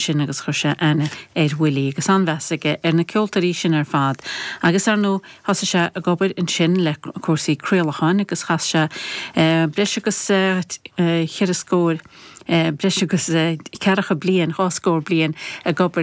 Sin agus chuir sé aithne ar Willie agus an-mheas aige ar na ceoltóirí sin ar fad. Agus ar ndóigh thosaigh sé ag obair ansin le cúrsaí craolacháin agus chas sé breis agus cheithre scór, breis agus ceathracha bliain, dhá scór bliain ag obair.